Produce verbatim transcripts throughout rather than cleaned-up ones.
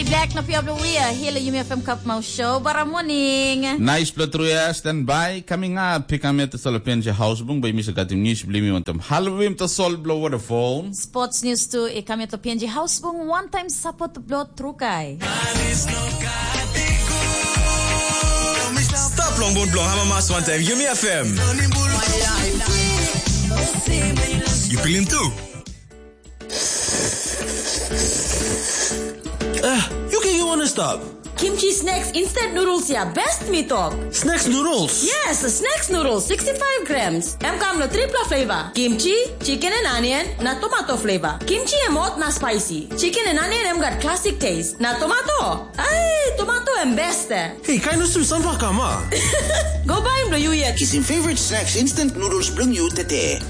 Back na pia bilong we are here, Yumi F M Cup Mouth Show. Bara morning. Nice pela tru ya, stand by. Coming up, pick up at the Solopin House Bung by Mister Gatim News, believe me, want them halvim the sol blow waterfall. Sports news too, e kami to P N G House Bung, one time support blow trukai. Stap long bun bilong Hamamas wantaim Yumi F M. Yu pilim tu? Ah, yu ken yu wana stap. Kimchi snacks instant noodles ya best mi tok. Snacks noodles? Yes, snacks noodles sixty-five grams. Em kam lo tripla flavor. Kimchi, chicken and onion, na tomato flavor. Kimchi em hot na spicy. Chicken and onion em gat classic taste. Na tomato? Ai, tomato em best. Hei, kain usum sampla kam a? Go baim lo yu yet. Kisim favorite snacks instant noodles bilong yu tete.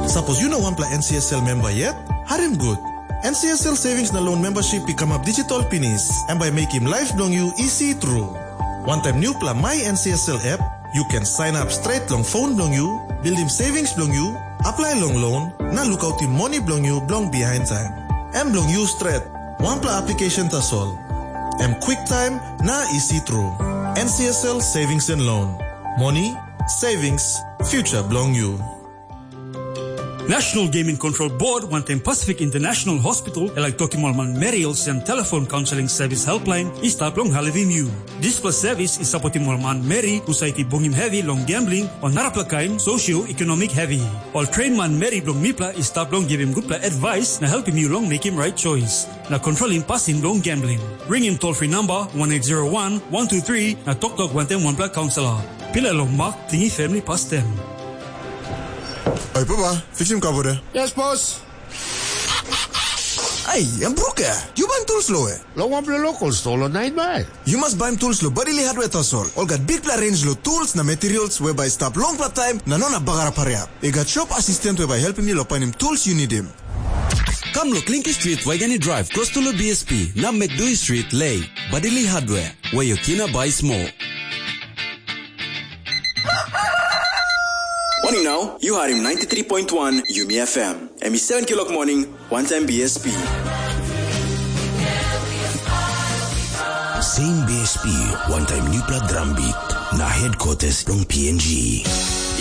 Sapos yu no wanpela N C S L memba yet, harim gut. N C S L Savings na Loan membership i kamap digital pinis, em bai mekim laip bilong yu isi tru. Wantaim nupela My N C S L app, yu ken sign up straight long phone bilong yu, buildim savings bilong yu, apply long loan, na lukautim moni bilong yu bilong behind time. Em bilong yu stret, wanpela application tasol. Em quick time na isi tru. N C S L Savings and Loan. Moni, savings, future bilong yu. National Gaming Control Board wantaim Pacific International Hospital e laik tokim ol manmeri olsem telefon kaunseling sevis helpline i stap long helpim yu. Dispela sevis i sapotim ol manmeri husat i bungim hevi long gambling o narapela kain socio-economic hevi. Ol train manmeri bilong mipela i stap long givim gutpela advice na helpim yu long mekim right choice na kontrolim pasin bilong gambling. Ringim toll free number one eight zero one one two three na toktok wantaim wanpela kaunselor. Pilai long mak tingim family pastem. Oi papa, fiksim kapo de. Yes boss. Ai, em bruke. Yu baim tools lo we? Long wanpela local store lo nine mile. Yu mas baim tools lo Badili Hardware tasol. Ol gat bikpela range lo tools na materials we bai stap longpela taim na no na bagarap hariap. I gat shop assistant we bai helpim yu lo painim tools yu nidim. Kam lo Klinki Street, Waigani Drive, close to lo B S P, na Mekdui Street, Lei, Badili Hardware, where your kina buy small. Morning now, you heard him ninety-three point one Yumi F M. Em i seven kilok morning, one time B S P. Same B S P, one time nupla drum beat, na headquarters long P N G.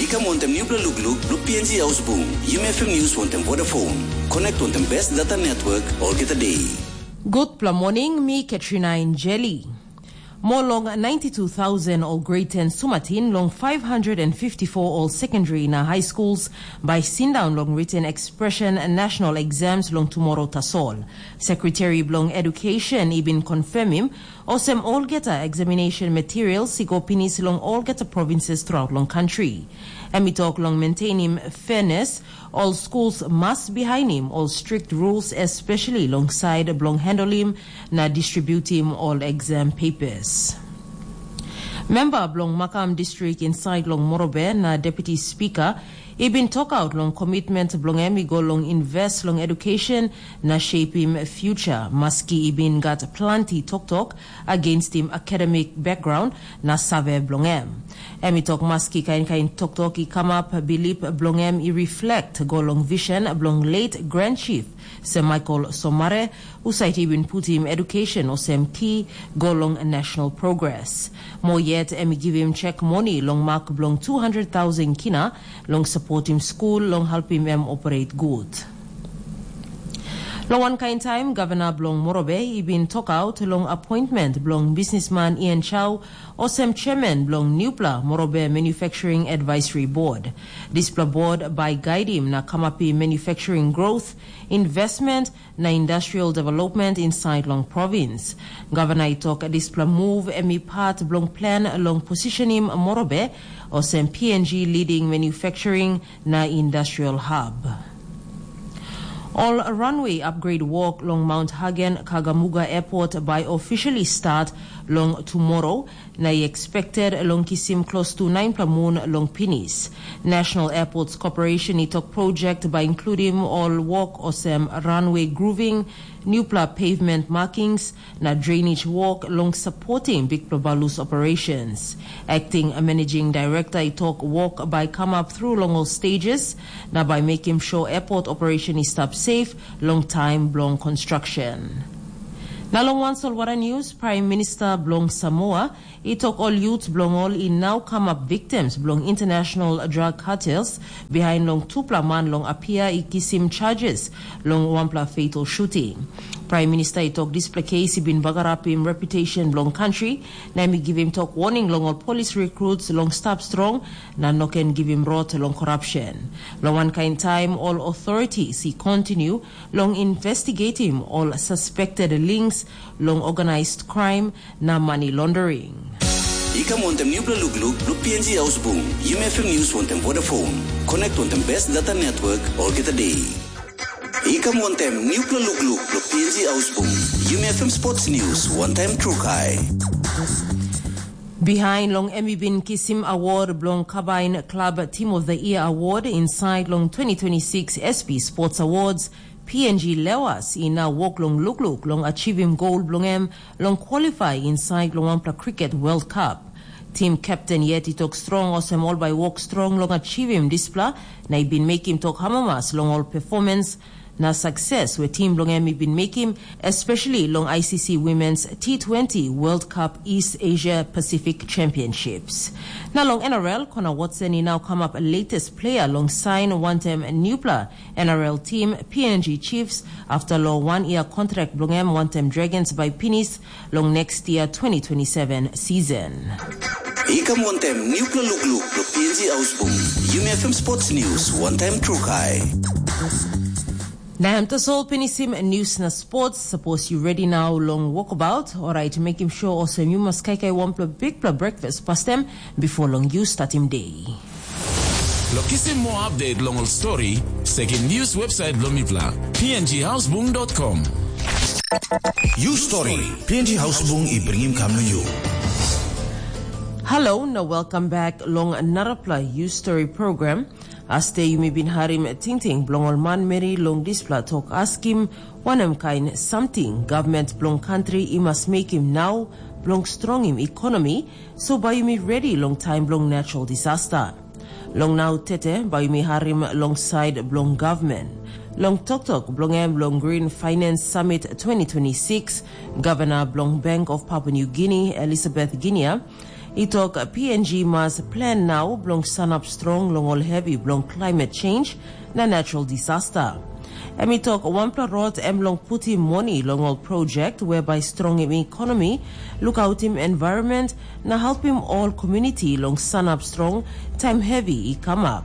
I kam wantaim nupla lukluk, luk P N G Ausbung, Yumi F M News wantaim Vodafone. Connect wantaim best data network, olgeta day. Gutpela morning, mi Katrina Injeli. More long ninety-two thousand ol grade ten sumatin long five hundred and fifty-four ol secondary na high schools by sindaun long written expression national exams long tomorrow tasol. Secretary bilong Education i bin confirmim olsem olgeta examination materials i go pinis long olgeta provinces throughout long country. Em i tok long maintainim fairness, ol schools mas bihainim ol strict rules, especially long side bilong handling na distributim ol exam papers. Memba bilong Makam Distrik insait long Morobe na Deputy Speaker i bin tokaut long komitment bilong em i go long invest long education na shapim future, maski i bin gat planti toktok againstim academic background na save bilong em. Em i tok maski kain kain toktok i kamap, bilip bilong em i reflect go long vision bilong late Grand Chief Sir Michael Somare, husat i bin putim education olsem ki go long national progress. Mo yet em i givim chek moni long mak bilong two hundred thousand kina long sapotim skul long helpim em operate gut. Long wankain taim, gavana bilong Morobe i bin tokaut long appointment bilong bisnisman Ian Chau olsem chairman bilong nupla Morobe Manufacturing Advisory Board. Dispela board bai gaidim na kamapim manufacturing growth, investment na industrial development inside long province. Gavana i tok dispela move em i part bilong plan long positionim Morobe olsem P N G leading manufacturing na industrial hub. Ol runway upgrade work long Mount Hagen Kagamuga Airport bai officially start long tomorrow, na i expected long kisim close to ninepela mun long pinis. National Airports Corporation i tok project bai includim ol work olsem runway grooving, nupela pavement markings, na drainage work long supporting big Babalus operations. Acting Managing Director i tok work bai come up through long all stages, na bai making sure airport operation is stop safe long time bilong construction. Na long wan solwara news, Prime Minister bilong Samoa i tok ol youth bilong ol i nau kamap victims bilong international drug cartels behind long tupela man long Apia i kisim charges long wanpela fatal shooting. Prime Minister i tok dispela case i bin bagarapim reputation bilong country, na em i givim tok warning long ol police recruits long stap strong na no ken givim rot long corruption. Long wankain taim ol authorities i continue long investigating ol suspected links long organized crime na money laundering. I kam wantem nupela lukluk bilong P N G Hausbung, Yumi F M News wantem Vodafone. Connect wantem best data network olgeta day. I kam wantem nupela lukluk bilong P N G Hausbung, Yumi F M Sports News wantaim Trukai. Behind long em i bin kisim award bilong Kabain Club Team of the Year Award inside long twenty twenty-six S P Sports Awards, P N G Lewas i nau wok long lukluk long achivim gol bilong em long qualify inside long wanpela cricket World Cup. Tim captain yet i tok strong olsem ol bai wok strong long achivim dispela, na i bin mekim tok amamas long ol performance na success we tim bilong em i bin mekim, especially long I C C Women's T twenty World Cup East Asia Pacific Championships. Na long N R L, Connor Watson i nau kamap latest player long sign wantem nupela N R L team P N G Chiefs after long one year contract bilong em wantem Dragons by pinis long next year twenty twenty-seven season. I kam wantem nupela lukluk bilong P N G Hausbung, Yumi F M Sports News wantaim Trukai. Na em tasol pinisim news na sports. Sapos yu ready now long walkabout, orait mekim sure olsem yu mas kaikai wanpela bikpela breakfast pastem before long yu startim day. Lo kisim more update long ol story, sekim news website bilong mipela, P N G Hausbung dot com. You story, P N G Hausbung i bringim kam na you. Hello, na welcome back long narapela You Story program. Aste yumi bin harim tingting bilong ol manmeri long dispela tok askim, wanem kain samting gavment bilong kantri i mas mekim nau bilong strongim ekonomi, so bai yumi redi long taim bilong natural disaster. Long nau tete bai yumi harim long sait bilong gavmen. Long toktok bilong em long Green Finance Summit twenty twenty-six, Gavana bilong Bank of Papua New Guinea, Elizabeth Ginia, i tok P N G mas plan nau bilong sanap strong long ol hevi bilong climate change na natural disaster. Em i tok wanpela rot em long putim moni long ol project we bai strongim ekonomi, lukautim environment, na helpim ol community long sanap strong taim hevi i kamap.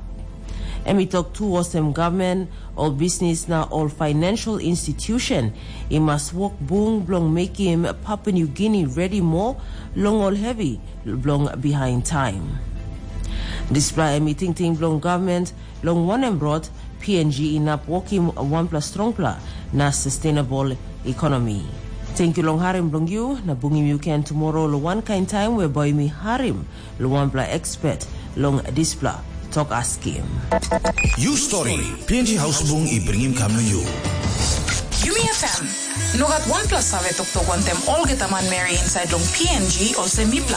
Em i tok tu olsem gavmen, ol bisnis na ol financial institution i mas wok bung bilong mekim Papua New Guinea redi moa long ol hevi bilong bihain taim. Dispela em i tingting bilong gavment long wanem rot P N G inap wokim wanpela strongpela na sustainable economy. Tenkyu long harim bilong yu, na bungim yu ken tumoro long wankain taim we bai mi harim long wanpela expert long dispela tok askim. You story, P N G Hausbung i bringim kam na you. Yumi F M. No gat wanpela save toktok wantem olgeta manmeri insait long P N G olsem mipela.